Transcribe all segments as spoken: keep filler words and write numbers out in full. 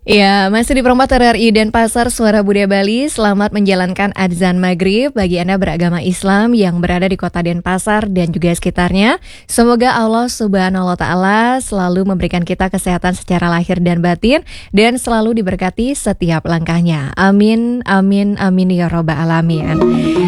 Ya, masih di Perempat R R I Denpasar, Suara Budaya Bali. Selamat menjalankan azan maghrib bagi Anda beragama Islam yang berada di kota Denpasar dan juga sekitarnya. Semoga Allah Subhanahu wa Ta'ala selalu memberikan kita kesehatan secara lahir dan batin dan selalu diberkati setiap langkahnya. Amin, amin, amin ya Rabbal Alamin.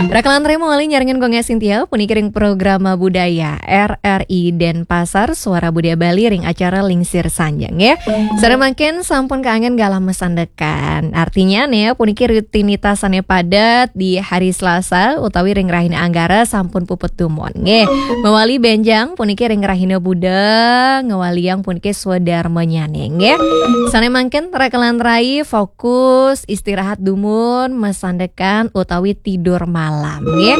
Rakalan Remo Ali nyarengan Gonge Sintia, puniki ring programa budaya R R I Denpasar, Suara Budaya Bali ring acara Lingsir Sanjang ya. Sare mangkin sampun kaangen galah masandekan. Artinya nih, puniki rutinitas sane padat di hari Selasa utawi ring rahina Anggara sampun puput dumun. Nggih, mawali benjang puniki ring rahina Buda, ngawaliang puniki swadarmanyane. Nggih, sane mangkin rakalan rai fokus istirahat dumun, masandekan utawi tidur malam. Nggih.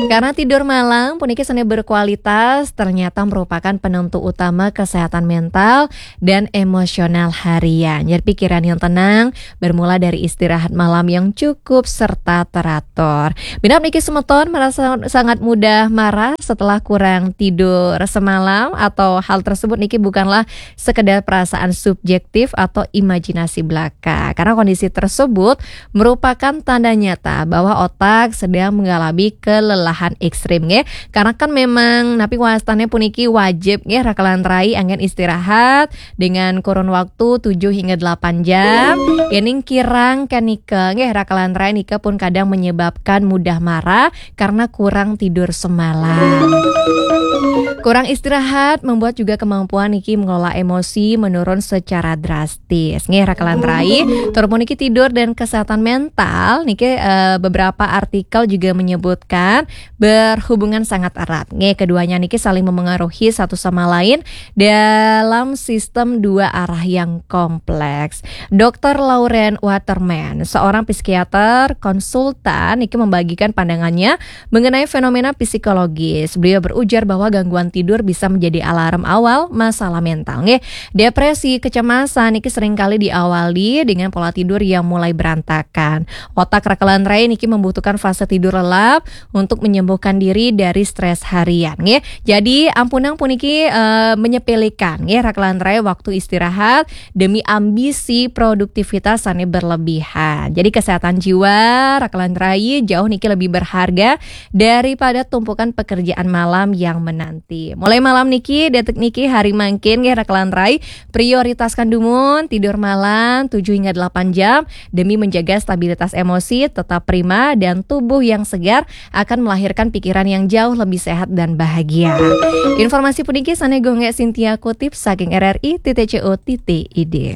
Karena tidur malam puniki sane berkualitas ternyata merupakan penentu utama kesehatan mental dan emosional harian. Jadi pikiran yang tenang bermula dari istirahat malam yang cukup serta teratur. Minab niki semeton merasa sangat mudah marah setelah kurang tidur semalam, atau hal tersebut niki bukanlah sekedar perasaan subjektif atau imajinasi belaka. Karena kondisi tersebut merupakan tanda nyata bahwa otak sedang mengalami kelelahan ekstrim nggih. Karena kan memang napi wastane puniki wajib nggih rakalan rai anggen istirahat dengan kurun waktu tujuh hingga delapan jam. Yening kirang kanika nggih rakalan rai nika pun kadang menyebabkan mudah marah karena kurang tidur semalam. Kurang istirahat membuat juga kemampuan niki mengelola emosi menurun secara drastis. Nggih rakalan rai, tur puniki tidur dan kesehatan mental niki, eh, beberapa artikel juga menyebutkan berhubungan sangat erat. Nggih, keduanya niki saling memengaruhi satu sama lain dalam sistem dua arah yang kompleks. Doktor Lauren Waterman, seorang psikiater konsultan niki membagikan pandangannya mengenai fenomena psikologis. Beliau berujar bahwa gangguan tidur bisa menjadi alarm awal masalah mental. Nggih, depresi, kecemasan niki seringkali diawali dengan pola tidur yang mulai berantakan. Otak rakalan rai niki membutuhkan fase tidur lelap untuk menyembuhkan diri dari stres harian, nggih. Jadi ampunang puniki, eh, menyepelekan nggih rakalan rai waktu istirahat demi ambisi produktivitas sane berlebihan. Jadi kesehatan jiwa rakalan rai jauh niki lebih berharga daripada tumpukan pekerjaan malam yang menanti. Mulai malam niki, detik niki, hari mangkin nggih rakalan rai, prioritaskan dumun tidur malam tujuh hingga delapan jam demi menjaga stabilitas emosi tetap prima dan tubuh yang segar akan melahirkan pikiran yang jauh lebih sehat dan bahagia. Informasi puniki sane Gonge Sintia kutip saking R R I titik C O titik I D.